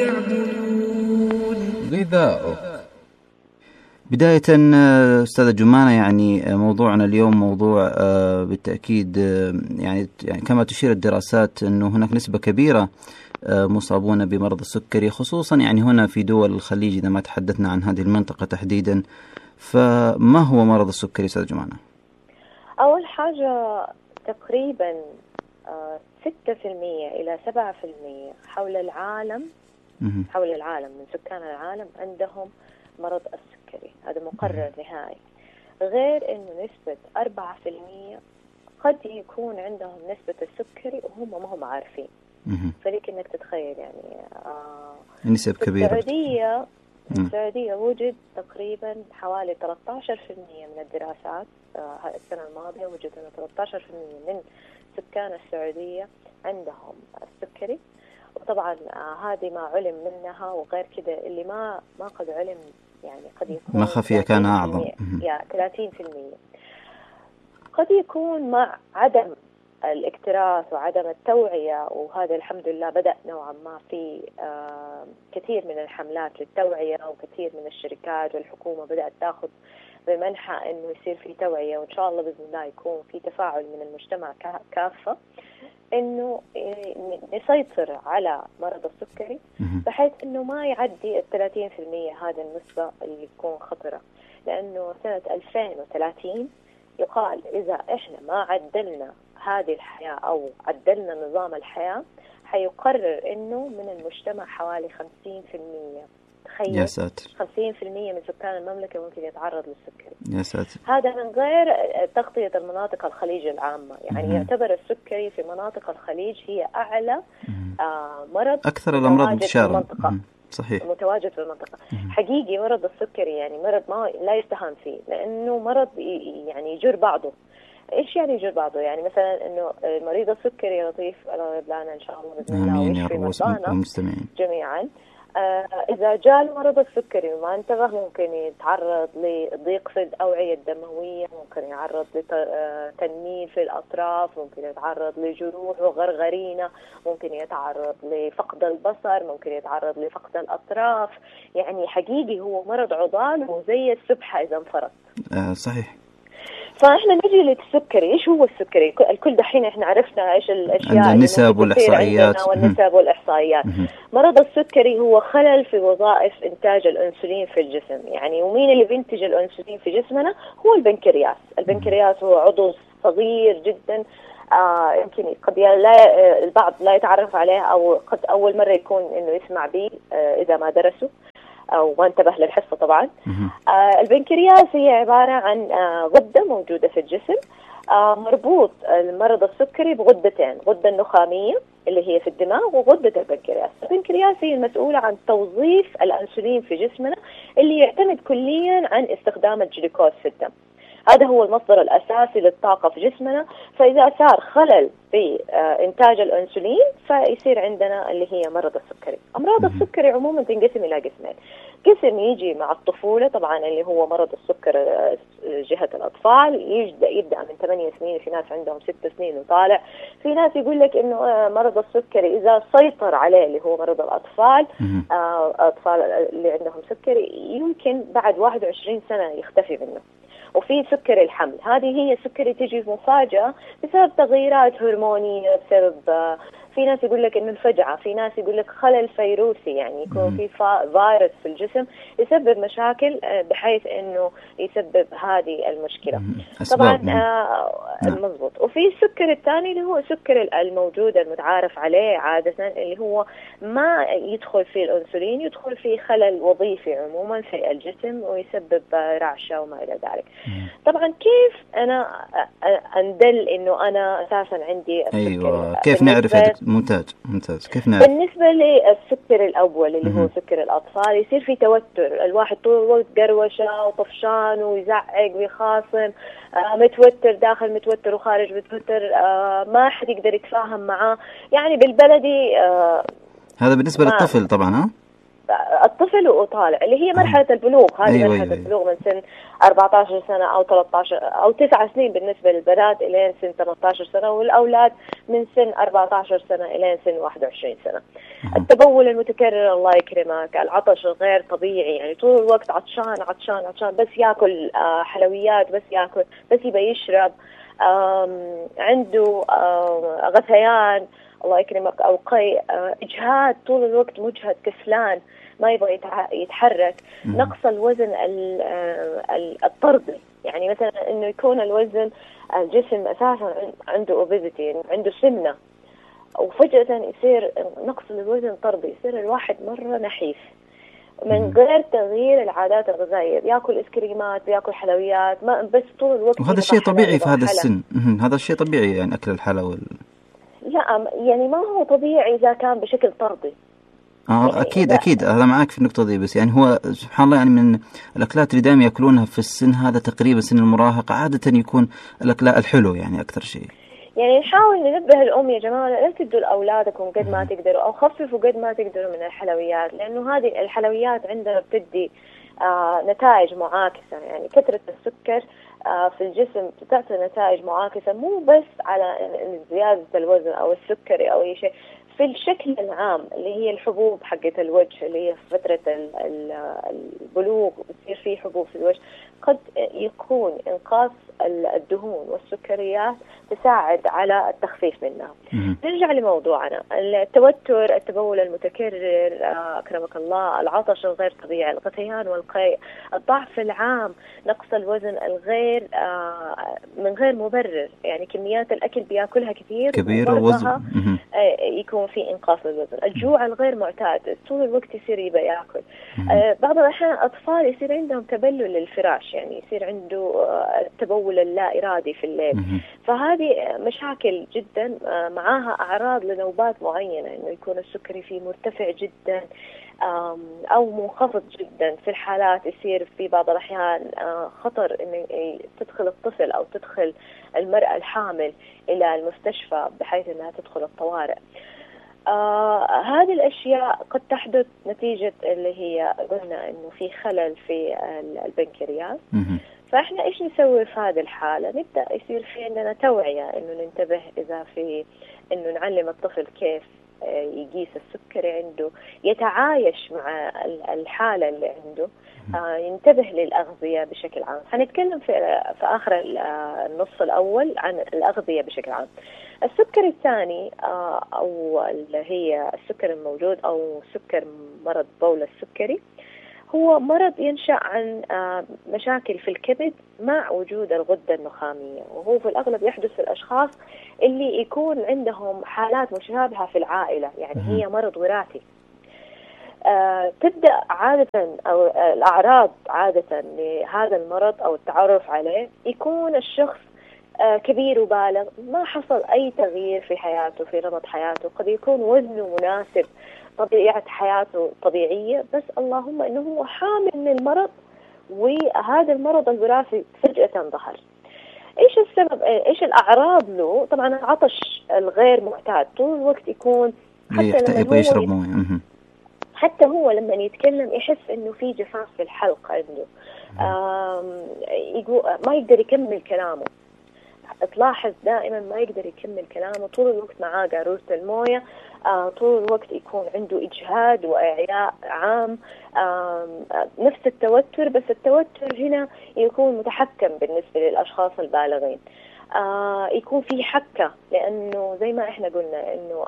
تعبدون. غذاؤه. بداية أستاذة جمانة، يعني موضوعنا اليوم موضوع بالتأكيد يعني كما تشير الدراسات أنه هناك نسبة كبيرة مصابون بمرض السكري، خصوصا يعني هنا في دول الخليج إذا ما تحدثنا عن هذه المنطقة تحديدا. فما هو مرض السكري أستاذة جمانة؟ أول حاجة تقريبا 6% إلى 7% حول العالم من سكان العالم عندهم مرض السكري، هذا مقرر نهائي. غير إنه نسبة 4% قد يكون عندهم نسبة السكري وهم ما هم عارفين. فليك إنك تتخيل يعني نسب كبيرة. السعودية وجد تقريبا حوالي 13% من الدراسات السنة الماضية وجد أن 13% من سكان السعودية عندهم السكري. وطبعا هذه ما علم منها، وغير كده اللي ما قد علم يعني قد يكون ما خفي كان أعظم. 30%. قد يكون مع عدم الاكتراث وعدم التوعية، وهذا الحمد لله بدأ نوعا ما في كثير من الحملات للتوعية، وكثير من الشركات والحكومة بدأت تأخذ بمنحى إنه يصير في توعية، وإن شاء الله بإذن الله يكون في تفاعل من المجتمع كافة إنه يسيطر على مرض السكري بحيث إنه ما يعدي 30% هذا النسبة اللي تكون خطرة. لأنه سنة 2030 يقال إذا إحنا ما عدلنا هذه الحياة أو عدلنا نظام الحياة حيقرر إنه من المجتمع حوالي 50%. تخيل، يا ساتر، 50% من سكان المملكة ممكن يتعرض للسكري. يا ساتر. هذا من غير تغطية المناطق الخليج العامة، يعني يعتبر السكري في مناطق الخليج هي أعلى مرض، أكثر الأمراض انتشارا. صحيح، متواجد في المنطقة. حقيقي مرض السكري يعني مرض ما لا يستهان فيه، لأنه مرض يعني يجر بعضه. إيش يعني يجر بعضه؟ يعني مثلا إنه مريض السكري يا لطيف الله يبلغنا إن شاء الله بإذن الله ويشفي مرضانا جميعا. إذا جاء مرض السكري وما انتبه ممكن يتعرض لضيق في الأوعية الدموية، ممكن يتعرض لتنميل في الأطراف، ممكن يتعرض لجروح وغرغرينة، ممكن يتعرض لفقد البصر، ممكن يتعرض لفقد الأطراف. يعني حقيقي هو مرض عضال وزي السبحة إذا انفرط. صحيح. فاحنا نجي للسكري. ايش هو السكري؟ الكل دحين احنا عرفنا ايش الاشياء النسب والاحصائيات والنسب والاحصائيات. مرض السكري هو خلل في وظائف انتاج الانسولين في الجسم. يعني ومين اللي بينتج الانسولين في جسمنا؟ هو البنكرياس. البنكرياس هو عضو صغير جدا، يمكن قد البعض لا يتعرف عليه او قد اول مرة يكون انه يسمع به اذا ما درسه أو ما انتبه للحصة طبعا. البنكرياس هي عبارة عن غدة موجودة في الجسم، مربوط المرض السكري بغدتين، غدة النخامية اللي هي في الدماغ وغدة البنكرياس. البنكرياس هي المسؤولة عن توظيف الأنسولين في جسمنا اللي يعتمد كليا عن استخدام الجلوكوز في الدم. هذا هو المصدر الأساسي للطاقة في جسمنا. فإذا صار خلل في إنتاج الأنسولين فيصير عندنا اللي هي مرض السكري. أمراض السكري عموما تنقسم إلى قسمين. قسم يجي مع الطفولة طبعا اللي هو مرض السكر جهة الأطفال، يبدأ من 8 سنين، في ناس عندهم 6 سنين وطالع. في ناس يقول لك إنه مرض السكري إذا سيطر عليه اللي هو مرض الأطفال، أطفال اللي عندهم سكري يمكن بعد 21 سنة يختفي منه. وفي سكر الحمل، هذه هي سكري تجي مفاجأة بسبب تغييرات هرمونية، بسبب في ناس يقول لك إنه الفجعة، في ناس يقول لك خلل فيروسي، يعني يكون في فيروس في الجسم يسبب مشاكل بحيث إنه يسبب هذه المشكلة. طبعا مضبوط. وفي السكر الثاني اللي هو سكر الموجود المتعارف عليه عادة اللي هو ما يدخل فيه الأنسولين، يدخل فيه خلل وظيفي عموما في الجسم ويسبب رعشة وما إلى ذلك. طبعا كيف أنا أندل إنه أنا أساسا عندي السكر؟ أيوة، كيف نعرف؟ ممتاز. كيف نعرف؟ بالنسبة للسكر الأول اللي هو سكر الأطفال، يصير في توتر، الواحد طول الوقت قروشة وطفشان ويزعق ويخاصم، متوتر داخل متوتر وخارج متوتر، ما حد يقدر يتفاهم معاه. يعني بالبلدي هذا بالنسبة للطفل طبعا. الطفل وطالع اللي هي مرحلة البلوغ. هذه أيوة مرحلة أيوة. البلوغ من سن 14 سنة أو 13 أو 9 سنين بالنسبة للبنات إلى سن 18 سنة، والأولاد من سن 14 سنة إلى سن 21 سنة. التبول المتكرر الله يكرمك، العطش الغير طبيعي، يعني طول الوقت عطشان عطشان عطشان، بس ياكل حلويات، بس ياكل، بس يبي يشرب، عنده غثيان الله يكرمك أو قيء، إجهاد طول الوقت، مجهد، كسلان، ما يبغى يتحرك. نقص الوزن الطردي، يعني مثلا إنه يكون الوزن الجسم أساسا عنده obesity، عنده سمنة، وفجأة يصير نقص الوزن طردي، يصير الواحد مرة نحيف من غير تغيير العادات الغذائية، بياكل إسكريمات، بياكل حلويات، ما بس طول الوقت. وهذا الشيء طبيعي في هذا السن. هذا الشيء طبيعي يعني أكل الحلوى. لا يعني ما هو طبيعي إذا كان بشكل طردي. يعني أكيد هذا معك في النقطة دي، بس يعني هو سبحان الله يعني من الأكلات اللي دائما يأكلونها في السن هذا تقريبا سن المراهقة عادة يكون الأكلات الحلو يعني أكثر شيء. يعني نحاول ننبه الأم يا جماعة لا تدوا لأولادكم قد ما تقدروا، أو خففوا قد ما تقدروا من الحلويات، لأنه هذه الحلويات عندنا بتدي نتائج معاكسة. يعني كثرة السكر في الجسم تعطي نتائج معاكسة، مو بس على زيادة الوزن أو السكري أو أي شيء، في الشكل العام اللي هي الحبوب حقة الوجه، اللي هي في فترة البلوغ بتصير فيه حبوب في الوجه، قد يكون إنقاص الدهون والسكريات تساعد على التخفيف منها. نرجع لموضوعنا، التوتر، التبول المتكرر أكرمك الله، العطش الغير طبيعي، الغثيان والقيء، الضعف العام، نقص الوزن الغير من غير مبرر، يعني كميات الأكل بياكلها كبير ووزن يكون في إنقاص الوزن، الجوع الغير معتاد، طول الوقت يصير يبى ياكل. بعض الأحيان أطفال يصير عندهم تبلل للفراش، يعني يصير عنده التبول اللا إرادي في الليل. فهذه مشاكل جدا، معاها أعراض لنوبات معينة، إنه يكون السكري فيه مرتفع جدا أو منخفض جدا. في الحالات يصير في بعض الأحيان خطر إنه تدخل الطفل أو تدخل المرأة الحامل إلى المستشفى بحيث أنها تدخل الطوارئ. هذه الأشياء قد تحدث نتيجة اللي هي قلنا إنه في خلل في البنكرياس. فإحنا إيش نسوي في هذه الحالة؟ نبدأ يصير في عندنا توعية، إنه ننتبه إذا في إنه نعلم الطفل كيف يقيس السكري عنده، يتعايش مع الحالة اللي عنده، ينتبه للأغذية بشكل عام. هنتكلم في آخر النص الأول عن الأغذية بشكل عام. السكر الثاني أو اللي هي السكر الموجود أو سكر مرض بول السكري، هو مرض ينشأ عن مشاكل في الكبد مع وجود الغدة النخامية، وهو في الأغلب يحدث في الأشخاص اللي يكون عندهم حالات مشابهة في العائلة، يعني هي مرض وراثي. تبدأ عادة أو الأعراض عادة لهذا المرض أو التعرف عليه يكون الشخص كبير وبالغ، ما حصل أي تغيير في حياته، في نمط حياته، قد يكون وزنه مناسب، طبيعة حياته طبيعية، بس اللهم إنه هو حامل من المرض، وهذا المرض الوراثي فجأة ظهر. إيش السبب؟ إيش الأعراض له؟ طبعا العطش الغير معتاد، طول الوقت يكون، حتى لما يشرب موية، حتى هو لما يتكلم يحس إنه في جفاف في الحلق عنده، يقول ما يقدر يكمل كلامه، تلاحظ دائما ما يقدر يكمل كلامه، طول الوقت معاه قارورة الموية، طول الوقت يكون عنده إجهاد وإعياء عام، نفس التوتر، بس التوتر هنا يكون متحكم بالنسبة للأشخاص البالغين. يكون في حكة، لأنه زي ما إحنا قلنا إنه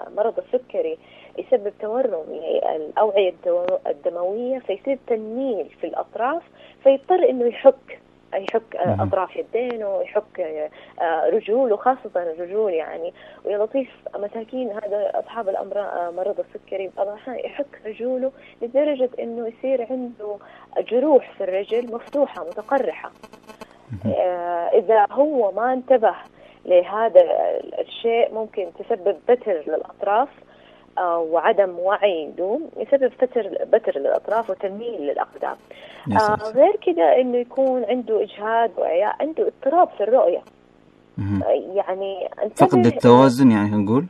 المرض السكري يسبب تورم الأوعية الدموية، فيصير تنميل في الأطراف، فيضطر إنه يحك أطراف يدينه، يحك رجوله، خاصة الرجول يعني. ويا لطيف مساكين هذا أصحاب الأمراض مرض السكري يحك رجوله لدرجة إنه يصير عنده جروح في الرجل مفتوحة متقرحة. إذا هو ما انتبه لهذا الشيء ممكن تسبب بتر للأطراف وعدم وعي دوم، يسبب بتر للأطراف وتنميل للأقدام. غير كده إنه يكون عنده إجهاد وإعياء، عنده اضطراب في الرؤية. يعني فقد التوازن، يعني نقول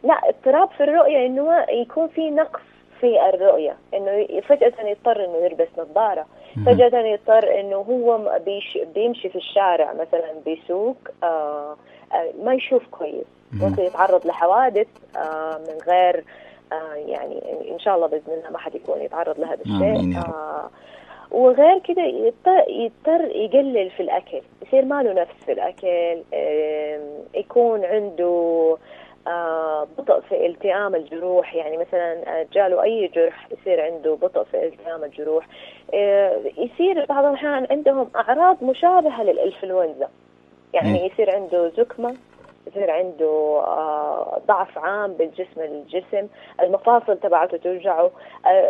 لا، اضطراب في الرؤية إنه يكون في نقص في الرؤية، إنه فجأة يضطر إنه يلبس نظارة، فجأة يضطر إنه هو بيمشي في الشارع مثلا بيسوق ما يشوف كويس، ممكن يتعرض لحوادث من غير يعني إن شاء الله بإذن الله ما حد يكون يتعرض لهذا الشيء. وغير كده يضطر يقلل في الأكل، يصير ما له نفس في الأكل، يكون عنده بطء في التئام الجروح، يعني مثلا جاله أي جرح يصير عنده بطء في التئام الجروح، يصير بعض الأحيان عندهم أعراض مشابهة للإنفلونزا، يعني يصير عنده زكمة، يصير عنده ضعف عام الجسم، المفاصل تبعته توجعه،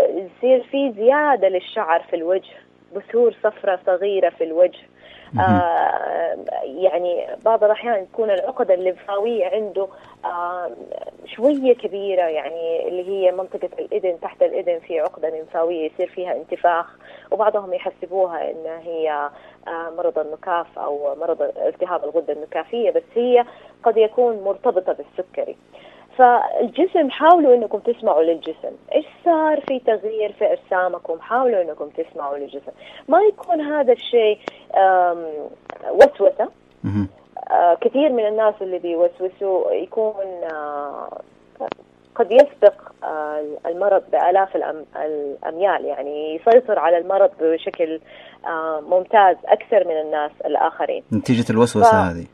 يصير في زيادة للشعر في الوجه، بثور صفرة صغيرة في الوجه، يعني بعض الأحيان تكون العقدة الليمفاوية عنده شوية كبيرة، يعني اللي هي منطقة الإذن، تحت الإذن في عقدة ليمفاوية يصير فيها انتفاخ، وبعضهم يحسبوها إن هي مرض النكاف أو مرض التهاب الغدة النكافية، بس هي قد يكون مرتبطة بالسكري. فالجسم حاولوا انكم تسمعوا للجسم، ايش صار في تغيير في اجسامكم، حاولوا انكم تسمعوا للجسم، ما يكون هذا الشيء وسوسة. كثير من الناس اللي بيوسوسوا يكون قد يسبق المرض بآلاف الأميال، يعني يسيطر على المرض بشكل ممتاز أكثر من الناس الآخرين نتيجة الوسوسة هذه،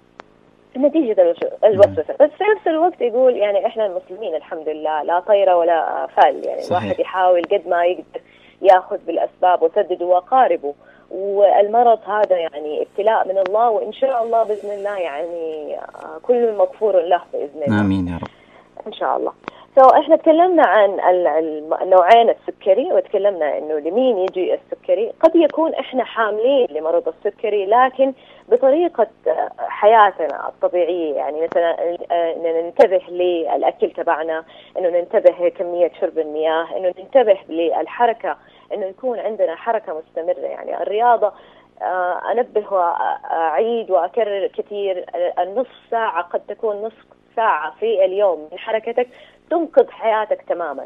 نتيجة الوسوسة. بس في نفس الوقت يقول يعني إحنا المسلمين الحمد لله لا طير ولا فال، يعني صحيح. الواحد يحاول قد ما يقدر يأخذ بالأسباب وسدد وقاربه، والمرض هذا يعني ابتلاء من الله، وإن شاء الله بإذن الله يعني كل مغفور له بإذن الله. آمين يا رب إن شاء الله. إحنا تكلمنا عن النوعين السكري، وتكلمنا إنه لمين يجي السكري. قد يكون إحنا حاملين لمرض السكري لكن بطريقة حياتنا الطبيعية، يعني مثلا إنه ننتبه للأكل تبعنا، إنه ننتبه كمية شرب المياه، إنه ننتبه للحركة، إنه يكون عندنا حركة مستمرة. يعني الرياضة أنبه وأعيد وأكرر كثير، النصف ساعة قد تكون نصف ساعة في اليوم من حركتك تنقذ حياتك تماما.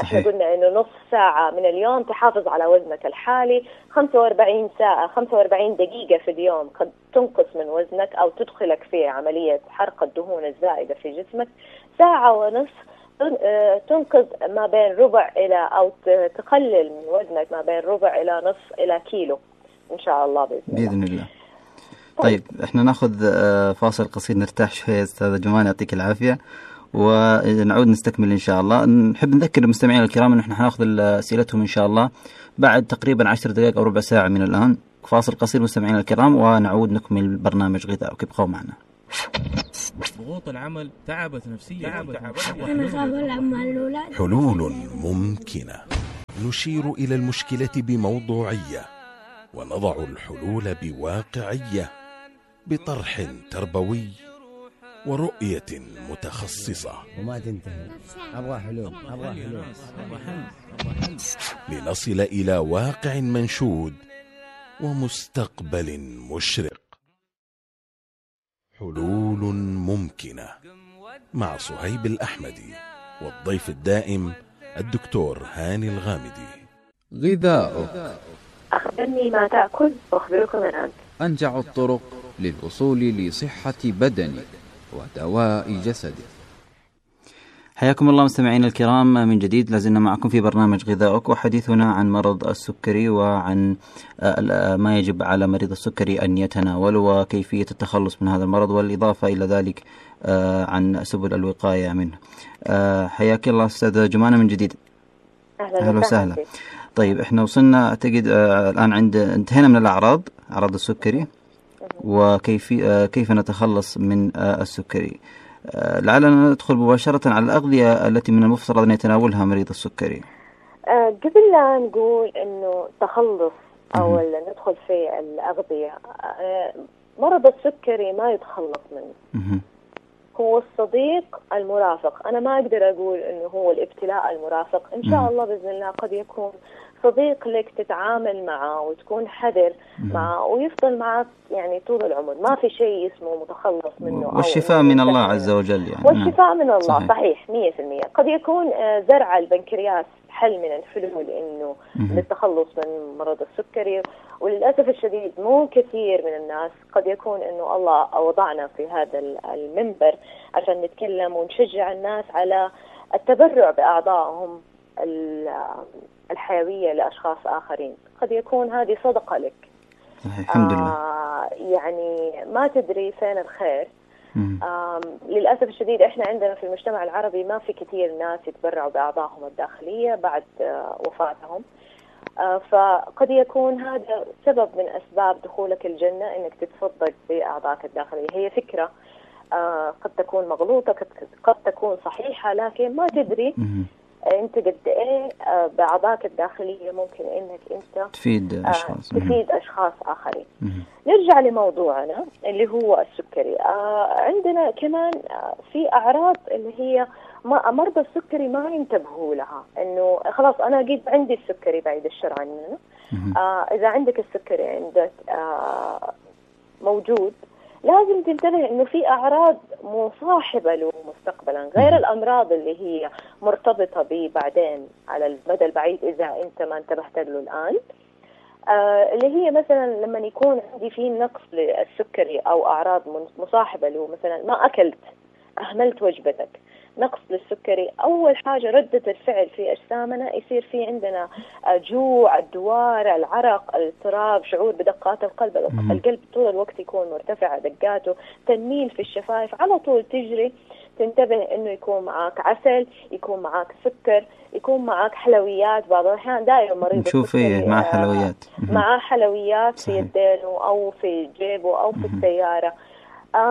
احنا قلنا انه نص ساعة من اليوم تحافظ على وزنك الحالي، 45 دقيقة في اليوم قد تنقص من وزنك او تدخلك في عملية حرق الدهون الزائدة في جسمك. ساعة ونصف تنقذ ما بين ربع الى او تقلل من وزنك ما بين ربع الى نصف الى كيلو ان شاء الله بإذن الله. طيب احنا ناخذ فاصل قصير نرتاح شوية استاذة جمانة، يعطيك العافية، ونعود نستكمل إن شاء الله. نحب نذكر المستمعين الكرام أن احنا حناخذ أسئلتهم إن شاء الله بعد تقريبا 10 دقائق أو ربع ساعة من الآن. فاصل قصير مستمعين الكرام ونعود نكمل برنامج غذاء، ابقوا معنا. ضغوط العمل تعبت نفسيا. حلول ممكنة، نشير إلى المشكلة بموضوعية ونضع الحلول بواقعية، بطرح تربوي ورؤية متخصصة. وما تنتهي، أبغى حلول. لنصل إلى واقع منشود ومستقبل مشرق. حلول ممكنة مع صهيب الأحمدي، والضيف الدائم الدكتور هاني الغامدي. غذاؤك. أخبرني ما تأكل وأخبركم الآن. أنجع الطرق للوصول لصحة بدنك ودواء جسدك. حياكم الله مستمعين الكرام من جديد، لازلنا معكم في برنامج غذاؤك، وحديثنا عن مرض السكري وعن ما يجب على مريض السكري أن يتناول وكيفية التخلص من هذا المرض، والإضافة إلى ذلك عن سبل الوقاية منه. حياك الله أستاذ جمانة من جديد. أهلا وسهلا. طيب احنا وصلنا اعتقد الآن انتهينا من أعراض السكري وكيف نتخلص من السكري. لعلنا ندخل مباشرة على الأغذية التي من المفترض أن يتناولها مريض السكري. قبل لا نقول إنه تخلص أو ندخل في الأغذية، مرض السكري ما يتخلص منه. هو الصديق المرافق. أنا ما أقدر أقول إنه هو الابتلاء المرافق، إن شاء الله بإذن الله قد يكون صديق لك تتعامل معه وتكون حذر معه ويفضل معك يعني طول العمر، ما في شيء اسمه متخلص منه. والشفاء من الله عز وجل يعني. والشفاء من الله صحيح 100%. قد يكون زرع البنكرياس حل من الحلول إنه للتخلص من مرض السكري، وللأسف الشديد مو كثير من الناس قد يكون إنه الله وضعنا في هذا المنبر عشان نتكلم ونشجع الناس على التبرع بأعضائهم الحيوية لأشخاص آخرين. قد يكون هذه صدقة لك. الحمد لله. يعني ما تدري فين الخير. للأسف الشديد إحنا عندنا في المجتمع العربي ما في كثير ناس يتبرعوا بأعضائهم الداخلية بعد وفاتهم. فقد يكون هذا سبب من أسباب دخولك الجنة، إنك تتصدق بأعضائك الداخلية. هي فكرة قد تكون مغلوطة، قد تكون صحيحة، لكن ما تدري أنت قد إيه بأعضائك الداخلية ممكن إنك أنت تفيد أشخاص تفيد أشخاص آخرين. نرجع لموضوعنا اللي هو السكري. عندنا كمان في أعراض اللي هي مرضى السكري ما ينتبهوا لها، إنه خلاص أنا قد عندي السكري بعيد الشر عننا. إذا عندك السكري عندك موجود، لازم تنتبه إنه في أعراض مصاحبة له مستقبلا، غير الأمراض اللي هي مرتبطة به بعدين على المدى البعيد إذا أنت ما انتبهت له الآن. اللي هي مثلا لما يكون عندي فيه نقص للسكري أو أعراض مصاحبة له، مثلا ما أكلت، أهملت وجبتك، نقص للسكري، أول حاجة ردة الفعل في أجسامنا يصير في عندنا جوع، الدوار، العرق، الاضطراب، شعور بدقات القلب. القلب طول الوقت يكون مرتفع دقاته، تنميل في الشفايف، على طول تجري. تنتبه إنه يكون معك عسل، يكون معك سكر، يكون معك حلويات. بعض الأحيان دائما مريض السكري مع حلويات مع حلويات في يدينه أو في جيبه أو في السيارة.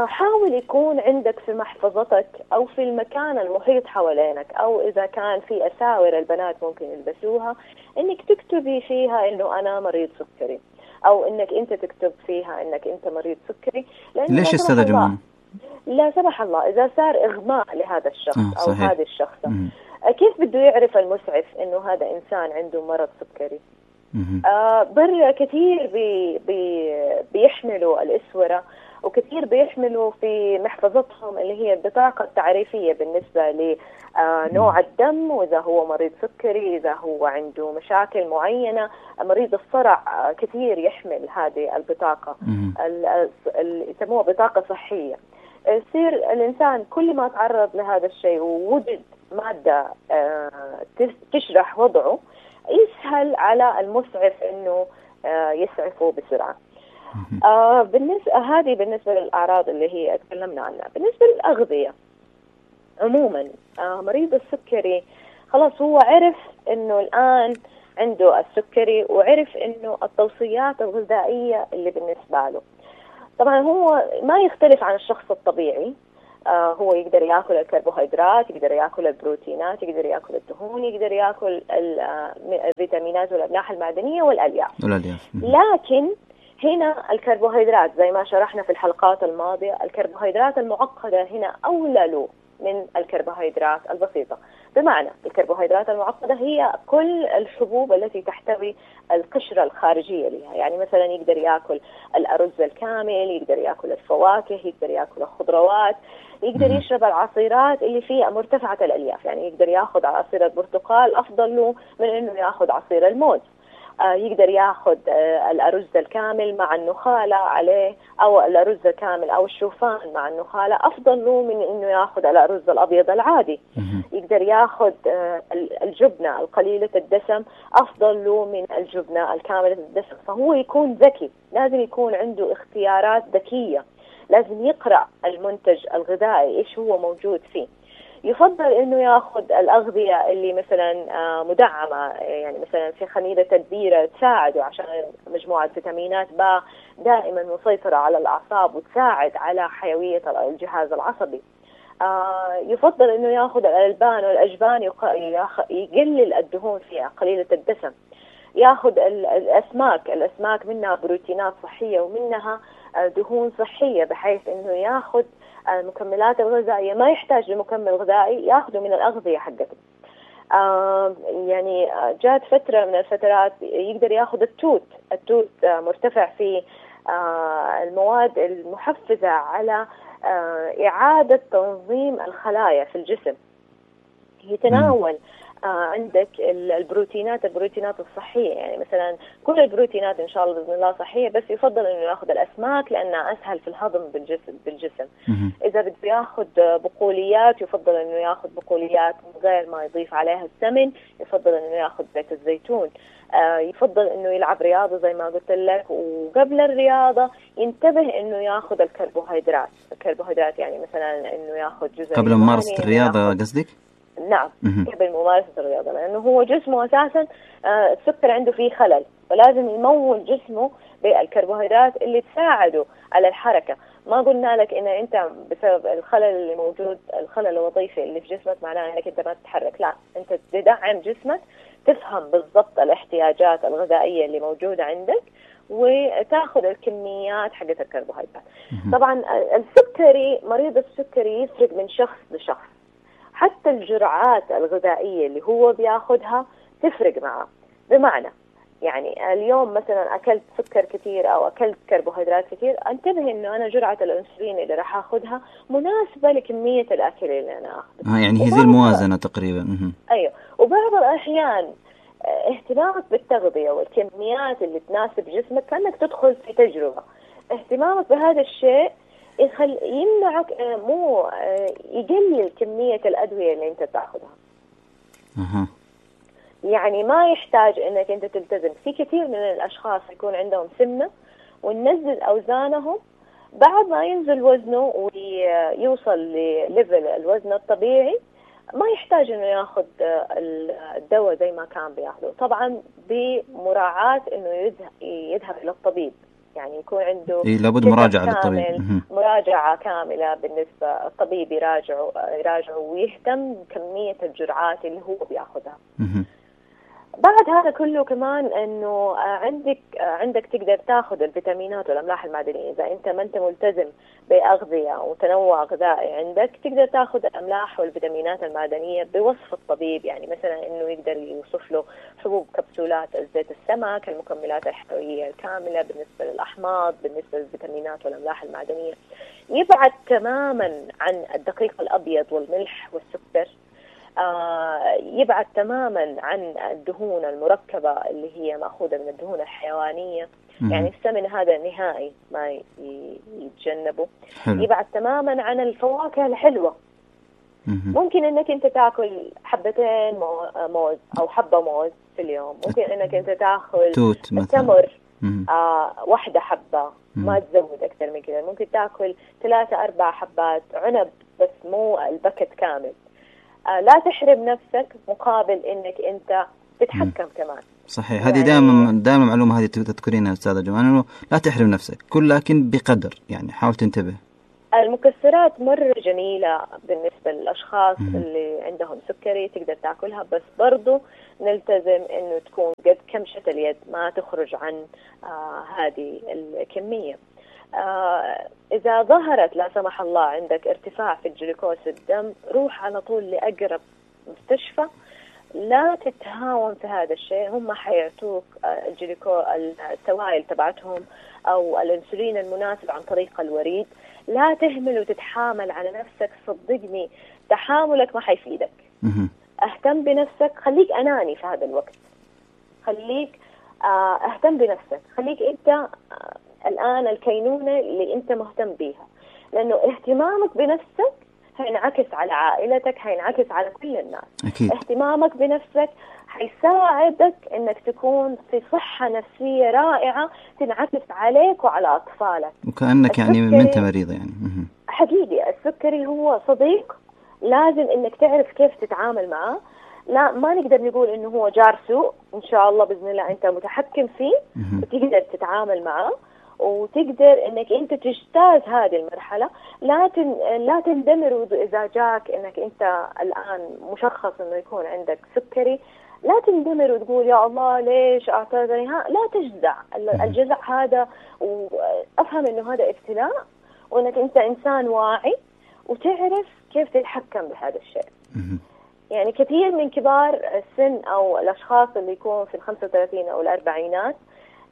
حاول يكون عندك في محفظتك أو في المكان المحيط حوالينك، أو إذا كان في أساور البنات ممكن يلبسوها، إنك تكتبي فيها إنه أنا مريض سكري، أو إنك أنت تكتب فيها إنك أنت مريض سكري. ليش أستاذة جمانة؟ لا سمح الله إذا صار إغماء لهذا الشخص أو هذه الشخصة، كيف بده يعرف المسعف إنه هذا إنسان عنده مرض سكري؟ برا كثير بيحملوا الأسورة، وكثير بيحملوا في محفظتهم اللي هي البطاقة التعريفية بالنسبة لنوع الدم، وإذا هو مريض سكري، إذا هو عنده مشاكل معينة. مريض الصرع كثير يحمل هذه البطاقة، يسموها بطاقة صحية. يصير الإنسان كل ما تعرض لهذا الشيء ووجد مادة تشرح وضعه، يسهل على المسعف إنه يسعفه بسرعة. بالنسبة للأعراض اللي هي تكلمنا عنها. بالنسبة للأغذية عموما، مريض السكري خلاص هو عرف إنه الآن عنده السكري، وعرف إنه التوصيات الغذائية اللي بالنسبة له. طبعا هو ما يختلف عن الشخص الطبيعي. هو يقدر يأكل الكربوهيدرات، يقدر يأكل البروتينات، يقدر يأكل الدهون، يقدر يأكل الفيتامينات والأملاح المعدنية والألياف. لكن هنا الكربوهيدرات زي ما شرحنا في الحلقات الماضية، الكربوهيدرات المعقدة هنا أولى له من الكربوهيدرات البسيطة. بمعنى الكربوهيدرات المعقدة هي كل الحبوب التي تحتوي القشرة الخارجية لها. يعني مثلا يقدر يأكل الأرز الكامل، يقدر يأكل الفواكه، يقدر يأكل الخضروات، يقدر يشرب العصيرات اللي فيها مرتفعة الألياف. يعني يقدر يأخذ عصير البرتقال أفضل له من إنه يأخذ عصير الموز. يقدر ياخذ الأرز الكامل مع النخالة عليه، أو الأرز الكامل أو الشوفان مع النخالة أفضل له من إنه ياخذ الأرز الأبيض العادي. يقدر ياخذ الجبنة القليلة الدسم أفضل له من الجبنة الكاملة الدسم. فهو يكون ذكي، لازم يكون عنده اختيارات ذكية، لازم يقرأ المنتج الغذائي إيش هو موجود فيه. يفضل إنه يأخذ الأغذية اللي مثلا مدعمة، يعني مثلا في خميرة البيرة تساعده عشان مجموعة فيتامينات با دائما مسيطرة على الأعصاب وتساعد على حيوية الجهاز العصبي. يفضل إنه يأخذ الألبان والأجبان، يقلل الدهون فيها قليلة الدسم. يأخذ الأسماك منها بروتينات صحية ومنها دهون صحية بحيث انه ياخذ المكملات الغذائية، ما يحتاج لمكمل غذائي، ياخذه من الأغذية حقته. يعني جات فترة من الفترات يقدر ياخذ التوت مرتفع في المواد المحفزة على إعادة تنظيم الخلايا في الجسم. يتناول عندك البروتينات الصحية، يعني مثلا كل البروتينات إن شاء الله بإذن الله صحية، بس يفضل إنه يأخذ الأسماك لأنها أسهل في الهضم بالجسم. إذا بده يأخذ بقوليات يفضل إنه يأخذ بقوليات من غير ما يضيف عليها السمن، يفضل إنه يأخذ زيت الزيتون. يفضل إنه يلعب رياضة زي ما قلت لك، وقبل الرياضة ينتبه إنه يأخذ الكربوهيدرات يعني مثلا إنه يأخذ جزء قبل ممارسة الرياضة قصدك؟ نعم، قبل ممارسة الرياضة، لأنه هو جسمه أساسا السكر عنده فيه خلل، فلازم يمول جسمه بالكربوهيدرات اللي تساعده على الحركة. ما قلنا لك إن أنت بسبب الخلل اللي موجود، الخلل الوظيفي اللي في جسمك، معناه إنك أنت ما تتحرك، لا، أنت تدعم جسمك، تفهم بالضبط الاحتياجات الغذائية اللي موجودة عندك، وتاخذ الكميات حقت الكربوهيدرات. طبعا مريض السكري يفرق من شخص لشخص، حتى الجرعات الغذائية اللي هو بياخدها تفرق معه. بمعنى يعني اليوم مثلا أكلت سكر كثير أو أكلت كربوهيدرات كثير، انتبه إنه أنا جرعة الأنسولين اللي راح أخذها مناسبة لكمية الأكل اللي أنا أخذه. يعني هي زي الموازنة تقريبا. أيوة. وبعض الأحيان اهتمامك بالتغذية والكميات اللي تناسب جسمك كأنك تدخل في تجربة. اهتمامك بهذا الشيء يمنعك يقلل كمية الأدوية اللي أنت تأخذها. يعني ما يحتاج أنك أنت تلتزم. في كثير من الأشخاص يكون عندهم سمنة وننزل أوزانهم، بعد ما ينزل وزنه ويوصل لليفل الوزن الطبيعي ما يحتاج أنه يأخذ الدواء زي ما كان بيأخذه، طبعا بمراعاة أنه يذهب إلى الطبيب، يعني يكون عنده لابد مراجعة للطبيب، مراجعة كاملة بالنسبة الطبيب يراجعه ويهتم بكمية الجرعات اللي هو بياخذها. بعد هذا كله كمان انه عندك تقدر تاخذ الفيتامينات والاملاح المعدنيه. اذا انت ما انت ملتزم باغذيه وتنوع غذائي عندك، تقدر تاخذ الاملاح والفيتامينات المعدنيه بوصف الطبيب، يعني مثلا انه يقدر يوصف له حبوب كبسولات زيت السمك، المكملات الحيويه الكامله بالنسبه للاحماض، بالنسبه للفيتامينات والاملاح المعدنيه. يبعد تماما عن الدقيق الابيض والملح والسكر، يبعد تماما عن الدهون المركبة اللي هي مأخوذة من الدهون الحيوانية. يعني السمن هذا نهائي ما يتجنبه. يبعد تماما عن الفواكه الحلوة. ممكن انك انت تاكل حبتين موز او حبة موز في اليوم، ممكن انك انت تاخذ تمر واحدة حبة، ما تزود اكثر من كذا. ممكن تاكل 3-4 حبات عنب، بس مو البكت كامل. لا تحرم نفسك مقابل انك انت تتحكم كمان. صحيح، هذه دائما معلومة هذه تذكرينها أستاذة جمال، إنه لا تحرم نفسك، كل لكن بقدر، يعني حاول تنتبه. المكسرات مرة جميلة بالنسبة للأشخاص اللي عندهم سكري، تقدر تاكلها، بس برضو نلتزم إنه تكون قد كمشة اليد، ما تخرج عن هذه الكمية. إذا ظهرت لا سمح الله عندك ارتفاع في الجلوكوز في الدم، روح على طول لأقرب مستشفى. لا تتهاون في هذا الشيء، هم حيعطوك السوائل تبعتهم أو الأنسولين المناسب عن طريق الوريد. لا تهمل وتتحامل على نفسك، صدقني تحاملك ما حيفيدك. اهتم بنفسك، خليك أناني في هذا الوقت، خليك اهتم بنفسك، خليك أنت الآن الكينونة اللي أنت مهتم بيها، لأنه اهتمامك بنفسك هينعكس على عائلتك، هينعكس على كل الناس. أكيد. اهتمامك بنفسك هيساعدك أنك تكون في صحة نفسية رائعة تنعكس عليك وعلى أطفالك، وكأنك يعني ما أنت مريضة يعني. حقيقي السكري هو صديق، لازم أنك تعرف كيف تتعامل معه. لا، ما نقدر نقول إنه هو جار سوء، إن شاء الله بإذن الله أنت متحكم فيه وتقدر تتعامل معه، وتقدر انك انت تجتاز هذه المرحلة. لا تندمر إذا جاك انك انت الان مشخص انه يكون عندك سكري. لا تندمر وتقول يا الله ليش أعطيتني، لا تجزع. الجزع هذا، وأفهم إنه هذا ابتلاء، وإنك أنت إنسان واعي وتعرف كيف تتحكم بهذا الشيء. يعني كثير من كبار السن أو الأشخاص اللي يكون في 35 أو 40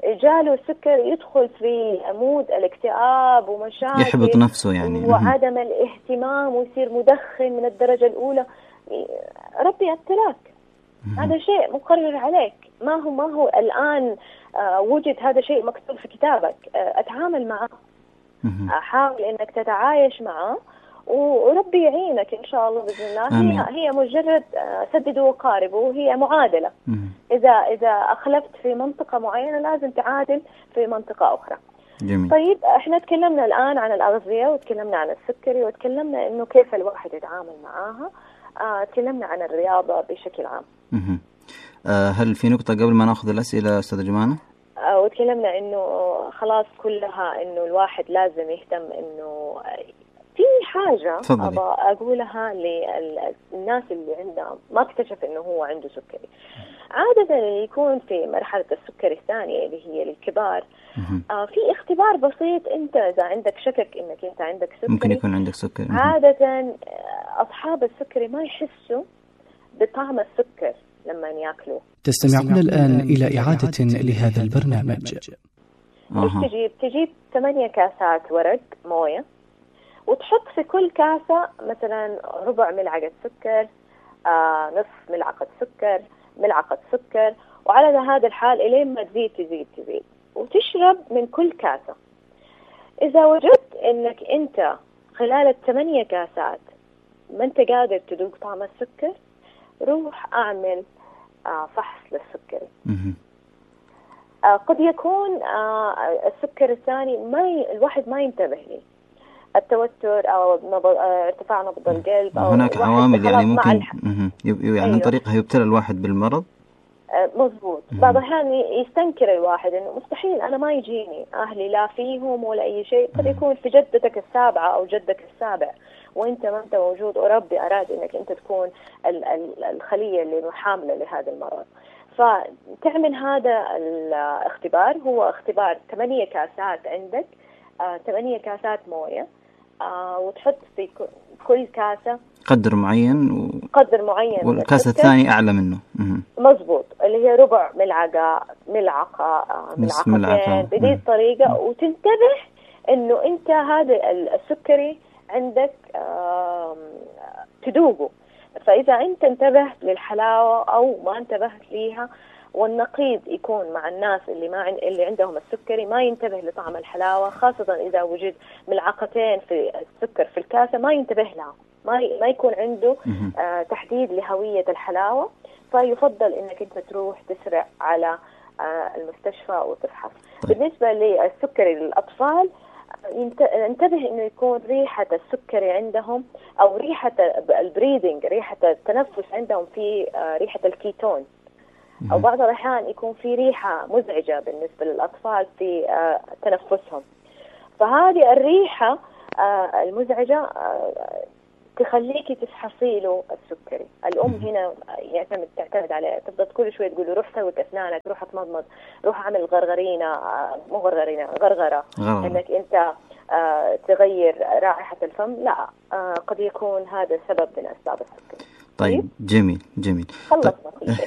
جاله السكر يدخل في عمود الاكتئاب ومشاكل، يحبط نفسه يعني، وعدم الاهتمام، ويصير مدخن من الدرجة الأولى. ربي ابتلاك، هذا شيء مقرر عليك، ما هو الآن وجد هذا شيء مكتوب في كتابك. أتعامل معه، حاول إنك تتعايش معه، وربي يعينك إن شاء الله بإذن الله. هي مجرد سددوا وقاربوا، وهي معادلة. إذا أخلفت في منطقة معينة لازم تعادل في منطقة أخرى. جميل. طيب احنا تكلمنا الآن عن الأغذية، وتكلمنا عن السكري، وتكلمنا إنه كيف الواحد يتعامل معاها. تكلمنا عن الرياضة بشكل عام. هل في نقطة قبل ما نأخذ الأسئلة أستاذة جمانة؟ وتكلمنا إنه خلاص كلها إنه الواحد لازم يهتم. إنه في حاجة أبغى أقولها للناس اللي عندها ما اكتشف إنه هو عنده سكري. عادة اللي يكون في مرحلة السكري الثانية اللي هي للكبار، في اختبار بسيط. أنت إذا عندك شكك إنك أنت عندك سكري، ممكن يكون عندك سكري. عادة أصحاب السكري ما يحسوا بطعم السكر لما يأكلوا. تستمعون الآن إلى إعادة لهذا البرنامج. تجيب 8 كاسات ورق موية، وتحط في كل كاسة مثلا ربع ملعقة سكر، نصف ملعقة سكر، ملعقة سكر، وعلى هذا الحال إلين ما تزيد، وتشرب من كل كاسة. إذا وجدت إنك أنت خلال 8 كاسات ما أنت قادر تذوق طعم السكر، روح أعمل فحص للسكري. قد يكون السكر الثاني الواحد ما ينتبه لي، التوتر أو ارتفاع نبض القلب، أو هناك عوامل يعني ممكن يعني أيوه. عن طريقها يبتلى الواحد بالمرض. مظبوط. بعض الأحيان يستنكر الواحد إنه مستحيل أنا ما يجيني، أهلي لا فيهم ولا أي شيء. قد يكون في جدتك السابعة أو جدك السابع وأنت ما أنت موجود، وربي أراد إنك أنت تكون الخلية اللي حاملة لهذا المرض. فتعمل هذا الاختبار، هو اختبار 8 كاسات عندك، 8 كاسات موية، وتحط في كل كاسة قدر معين والكاسة الثانية أعلى منه. مظبوط، اللي هي ربع ملعقة، ملعقتين، بهذه الطريقة. وتنتبه إنه أنت هذا السكري عندك تذوقه. فإذا أنت انتبهت للحلاوة أو ما انتبهت ليها، والنقيض يكون مع الناس اللي عندهم السكري ما ينتبه لطعم الحلاوة، خاصة إذا وجد ملعقتين في السكر في الكاسة ما ينتبه لها، ما يكون عنده تحديد لهوية الحلاوة. فيفضل إنك أنت تروح تسرع على المستشفى وتفحص. بالنسبة للسكري للأطفال، انتبه إنه يكون ريحة السكري عندهم أو ريحة البريدنج، ريحة التنفس عندهم في ريحة الكيتون، أو بعض الأحيان يكون في ريحة مزعجة بالنسبة للأطفال في تنفسهم. فهذه الريحة المزعجة تخليكي تفحصي له السكري. الأم هنا تعتمد عليه، تفضل كل شوية تقول له روح سوي أسنانك، روح اتمضمض، روح اعمل غرغرة، انك انت تغير رائحة الفم. لا، قد يكون هذا سبب من أسباب السكري. طيب جميل. خلصنا كل شيء.